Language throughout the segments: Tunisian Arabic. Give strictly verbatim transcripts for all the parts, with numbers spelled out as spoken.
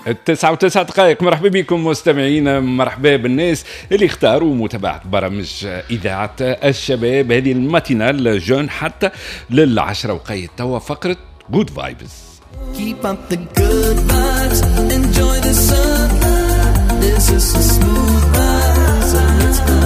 التسعة وتسعة دقائق. مرحبا بكم مستمعينا، مرحبا بالناس اللي اختاروا متابعة برامج إذاعة الشباب هذه ال matinale jeune حتى للعشرة وقيت توا فقرة Good Vibes. Keep up the good vibes, enjoy the sun. This is a smooth ride, so let's go.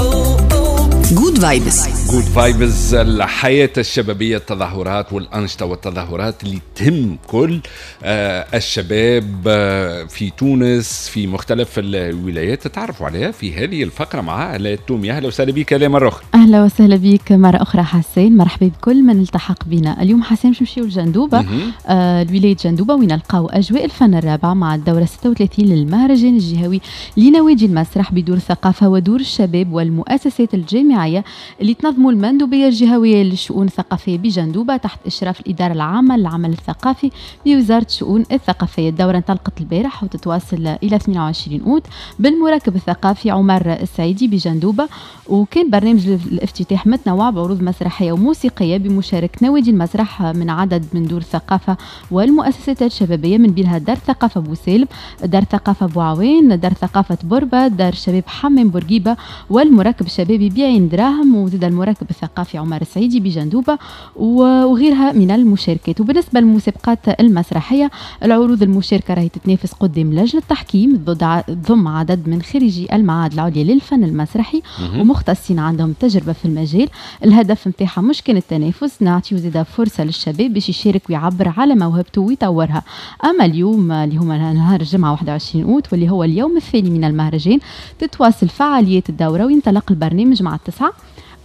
Oh, oh. Good Vibes. Good Vibes، الحياة الشبابية، التظاهرات والأنشطة والتظاهرات اللي تهم كل آه، الشباب آه، في تونس في مختلف الولايات، تتعرفوا عليها في هذه الفقرة مع آلاء التومي. أهلا وسهلا بك آلاء مرة أخرى. اهلا وسهلا بك مرة اخرى حسين، مرحبا بكل من التحق بنا اليوم. حسين، باش نمشيو لجندوبه، مهم. آه لولاية جندوبه، وين نلقاو اجواء الفن الرابع مع الدورة ستة وثلاثين للمهرجان الجهوي لنوادي المسرح بدور الثقافة ودور الشباب والمؤسسات الجامعيه، اللي تنظموا المندوبيه الجهوية للشؤون الثقافية بجندوبه تحت اشراف الادارة العامة للعمل الثقافي بوزارة الشؤون الثقافيه. الدورة انطلقت البارح وتتواصل الى اثنين وعشرين اوت بالمركب الثقافي عمر السعيدي بجندوبه. وكان برنامج الافتتاح متنوع بعروض مسرحية وموسيقيه بمشاركة نوادي المسرح من عدد من دور الثقافة والمؤسسات الشبابيه، من بينها دار ثقافة بوسالم، دار ثقافة بوعوان، دار ثقافة بوربه، دار شباب حمام بورقيبة والمركب الشبابي بعين دراهم، وزاد المركب الثقافي عمر السعيدي بجندوبه وغيرها من المشاركات. وبالنسبة للمسابقات المسرحيه، العروض المشاركة راهي تتنافس قدام لجنة تحكيم تضم عدد من خريجي المعاهد العليا للفن المسرحي ومختصين عندهم تجربه في المجال. الهدف نتاعها مش كان التنافس، نعطيو زاده فرصة للشباب باش يشارك ويعبر على موهبته ويطورها. اما اليوم اللي هو نهار الجمعة واحد وعشرين اوت، واللي هو اليوم الثاني من المهرجان، تتواصل فعاليات الدورة وينطلق البرنامج مع التسعة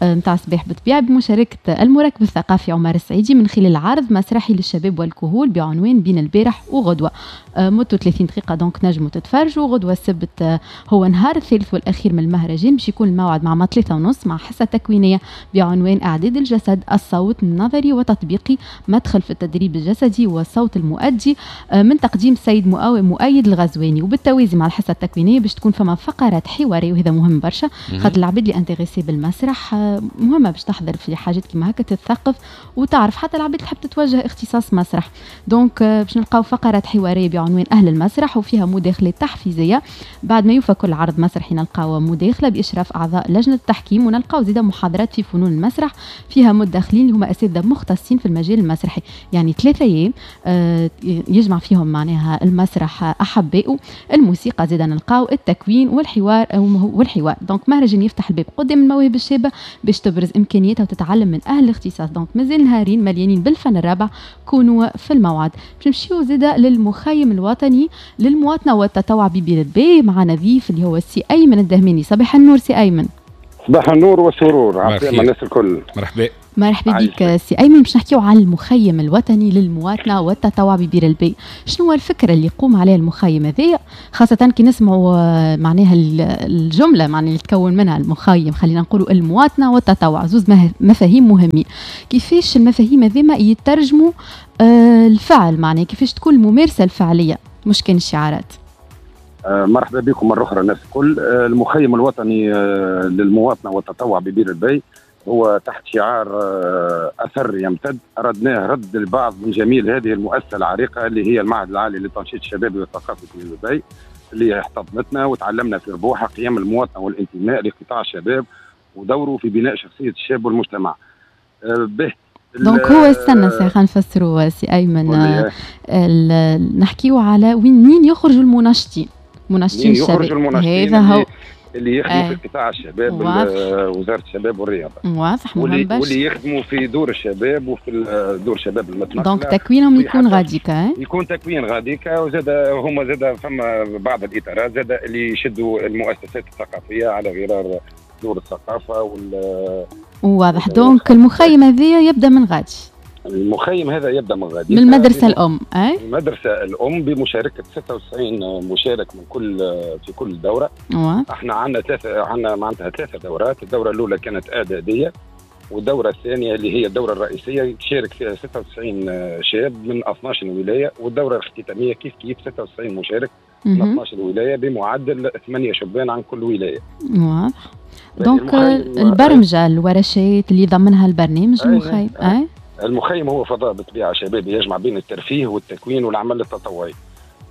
نتاع الصباح بالطبيعة بمشاركة المركب الثقافي عمر السعيدي من خلال عرض مسرحي للشباب والكهول بعنوان بين البارح وغدوة، آه، مدته ثلاثين دقيقة، donc نجموا تتفرجوا. غدوة السبت آه، هو نهار الثالث والأخير من المهرجان، باش يكون الموعد مع ثلاثة ونص مع حصة تكوينية بعنوان إعداد الجسد، الصوت النظري وتطبيقي، مدخل في التدريب الجسدي والصوت المؤدي، آه، من تقديم السيد مؤيد الغزواني. وبالتوازي مع الحصة التكوينية باش تكون فما فقرات حوارية، وهذا مهم برشا خاطر العباد اللي intéressés بالمسرح مهمة باش تحضر في حاجات كيما هكا، تتثقف وتعرف، حتى العباد تحب تتوجه اختصاص مسرح. donc باش نلقاو فقرات حوارية بعنوان اهل المسرح، وفيها مداخلات تحفيزيه. بعد ما يوفى كل عرض مسرحي نلقاو مداخله باشراف اعضاء لجنة التحكيم، ونلقاو زيدا محاضرات في فنون المسرح فيها مداخلين اللي هما اساتذة مختصين في المجال المسرحي. يعني ثلاثة ايام آه، يجمع فيهم معناها المسرح احبائه، الموسيقى، زيدا نلقاو التكوين والحوار والحوار donc مهرجان يفتح الباب قدام المواهب الشابة باش تبرز امكانياتها وتتعلم من اهل الاختصاص. donc مازال نهارين مليانين بالفن الرابع، كونوا في الموعد. باش نمشيو زاده للمخيم الوطني للمواطنه والتطوع ببير الباي مع ضيف اللي هو السي ايمن الدهماني. صباح النور سي ايمن. صباح النور والسرور، عسلامة الناس الكل. مرحبا. مرحبا بك سي ايمن. باش نحكيو على المخيم الوطني للمواطنه والتطوع ببير الباي. شنو هو الفكرة اللي يقوم عليها المخيم هذايا، خاصة كي نسمعوا آه، معناها الجملة معناها اللي تكون منها المخيم، خلينا نقولوا المواطنة والتطوع، زوز مفاهيم مهمين، كيفاش المفاهيم هذيما يترجموا آه، الفعل، معناها كيفاش تكون الممارسة الفعلية مش كان الشعارات؟ آه، مرحبا بكم مرة أخرى الناس الكل. المخيم الوطني للمواطنة والتطوع ببير الباي هو تحت شعار آه، اثر يمتد. اردناه رد البعض من جميل هذه المؤسسة العريقه اللي هي المعهد العالي للتنشيط الشبابي والثقافي في دبي، اللي احتضنتنا وتعلمنا في ربوحها قيم المواطنة والانتماء لقطاع الشباب ودوره في بناء شخصية الشاب والمجتمع. آه، به donc هو استنى سي، خلينا نفسروا سي ايمن. آه، نحكيو على وين منين يخرجوا المنشطين، منشطين الشباب، يخرجوا المنشطين هذا هو اللي يخدموا في قطاع الشباب، وزارة الشباب والرياضه. واضح. واللي, واللي يخدموا في دور الشباب وفي دور الشباب المتنقله. donc تكوينهم يكون غاديكا. يكون تكوين غاديكا، وزاد هما زاد فما بعض الاطارات زاد اللي يشدوا المؤسسات الثقافية على غرار دور الثقافة وال واضح. donc المخيم هذا يبدا من غادي. المخيم هذا يبدا من غادي. من المدرسة الام. اي، المدرسة الام بمشاركة ستة وتسعين مشارك من كل في كل دوره. أوه. احنا عندنا ثلاثه، عندنا معناتها ثلاثة دورات. الدورة الاولى كانت اعداديه، والدوره الثانية اللي هي الدورة الرئيسية شارك فيها ستة وتسعين شاب من اثناش ولايه، والدوره الاختتاميه كيف كيف ستة وتسعين مشارك من اثناش ولاية بمعدل ثمانية شبان عن كل ولاية. واضح. donc البرمجه، الورشات اللي ضمنها البرنامج المخيم اي؟ المخيم هو فضاء بالطبيعة شبابي يجمع بين الترفيه والتكوين والعمل التطوعي.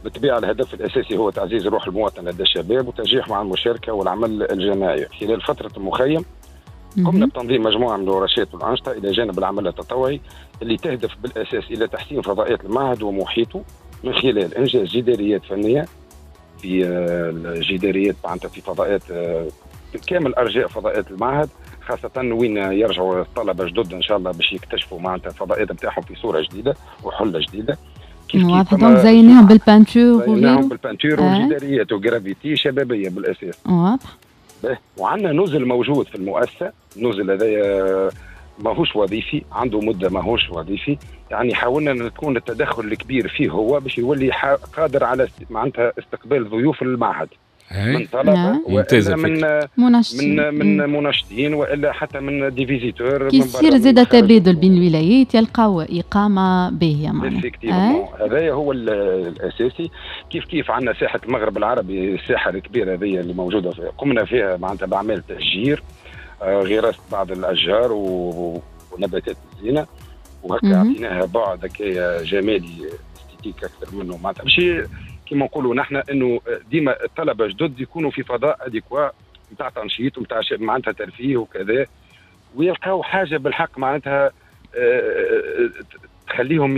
بالطبيعة الهدف الاساسي هو تعزيز روح المواطن لدى الشباب وتشجيعهم على المشاركة والعمل الجماعي. خلال فترة المخيم قمنا بتنظيم مجموعة من الورشات والانشطه الى جانب العمل التطوعي اللي تهدف بالاساس الى تحسين فضاءات المعهد ومحيطه من خلال انجاز جداريات فنية في آه، الجداريات معناتها في فضاءات آه، كامل ارجاء فضاءات المعهد، خاصة وين يرجعوا الطلبة جدد إن شاء الله باش يكتشفوا معناتها الفضاءات نتاعهم في صورة جديدة وحلة جديدة. كيف كيف donc زيناهم بال peinture. زيناهم بال peinture آه. والجداريات وجرافيتي شبابية بالأساس. واضح. وعندنا نزل موجود في المؤسسة، النزل هذايا ماهوش وظيفي، عنده مده ماهوش وظيفي، يعني حاولنا ان تكون التدخل الكبير فيه هو باش يولي قادر على معناتها استقبال ضيوف المعهد من طلبه نعم. والا من منشطين من من منشطين والا حتى من des visiteurs. كي يصير زاد تبادل بين الولايات يلقاو اقامه باهيه معناها. هذا هو الاساسي. كيف كيف عندنا ساحة المغرب العربي، الساحة الكبيرة هذه اللي موجوده في قمنا فيها معناتها باعمال تشجير، آه، غراسه بعض الاشجار ونباتات الزينه، وهكا اعطيناها بعد هكايا جمالي esthétique اكثر منه، معناتها باش كما نقولوا نحن انه ديما الطلبة جدد يكونوا في فضاء adéquat نتاع تنشيط ونتاع معناتها ترفيه وكذا، ويلقاو حاجة بالحق معناتها آه، آه، تخليهم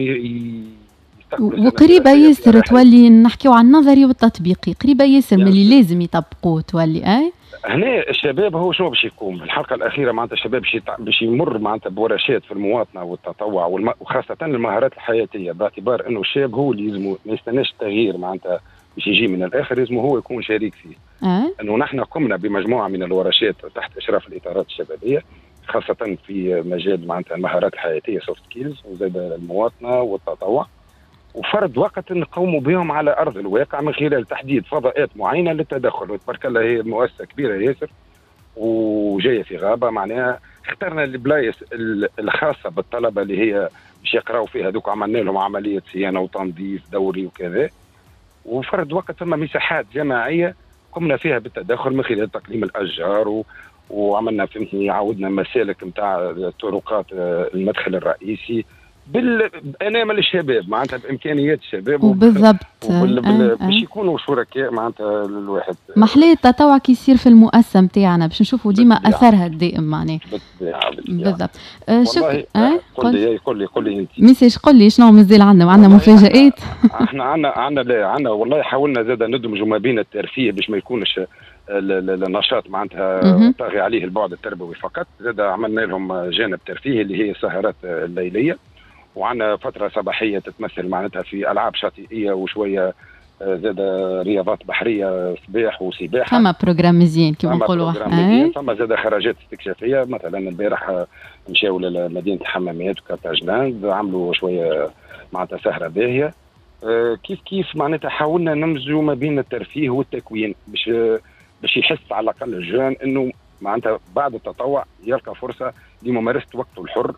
وقريبه ياسر تولي، نحكيو عن النظري والتطبيقي، قريبه ياسر من اللي لازم يطبقوه تولي اي. هنا الشباب هو شنو باش يقوم الحلقة الاخيره، معناتها الشباب باش باش يمر معناتها بورشات في المواطنة والتطوع والم... وخاصة المهارات الحياتيه، باعتبار انه الشاب هو اللي يلزمه ما يستناش التغيير معناتها باش يجي من الاخر، لازم هو يكون شريك فيه. أه؟ انه نحن قمنا بمجموعه من الورشات تحت اشراف الاطارات الشبابيه، خاصة في مجال معناتها المهارات الحياتية soft skills، وزاد المواطنة والتطوع، وفرد وقت نقوموا بهم على ارض الواقع من خلال تحديد فضاءات معينة للتدخل. وتبارك الله هي مؤسسة كبيرة ياسر وجاية في غابه، معناها اخترنا البلايص الخاصة بالطلبه اللي هي باش يقراوا فيها، دوك عملنا لهم عملية صيانة وتنظيف دوري وكذا، وفرد وقت ثم مساحات جماعية قمنا فيها بالتدخل من خلال تقليم الاشجار و... وعملنا فهمتني عاودنا مسالك نتاع طرقات المدخل الرئيسي بانامل الشباب، معناتها بامكانيات الشباب. وبالضبط. وبال... بال... باش يكونوا شركاء معناتها الواحد. محلاه التطوع كي يصير في المؤسسة نتاعنا باش نشوفوا ديما اثرها الدائم معناها. بالطبيعه. بالضبط. آه شكرا. آه قل لي قل لي قل لي انت. ميساج قل لي شنو مازال عندنا وعندنا مفاجآت. احنا عندنا عندنا لا عندنا والله حاولنا زاد ندمجوا ما بين الترفيه باش ما يكونش النشاط معناتها طاغي عليه البعد التربوي فقط، زاد عملنا لهم جانب ترفيهي اللي هي السهرات الليليه، وعندنا فترة صباحية تتمثل معناتها في العاب شاطئيه وشوية آه، زاد رياضات بحرية صباح وسباحه. فما programme مزيان كيما نقولوا. فما زاد خرجات استكشافيه، مثلا البارح مشاو لمدينة الحمامات وكارتاجلاند، عملوا شوية معناتها سهره باهيه. آه، كيف كيف معناتها حاولنا نمزجوا ما بين الترفيه والتكوين باش باش يحس على الاقل ال jeune انه معناتها بعد التطوع يلقى فرصة لممارسة وقته الحر.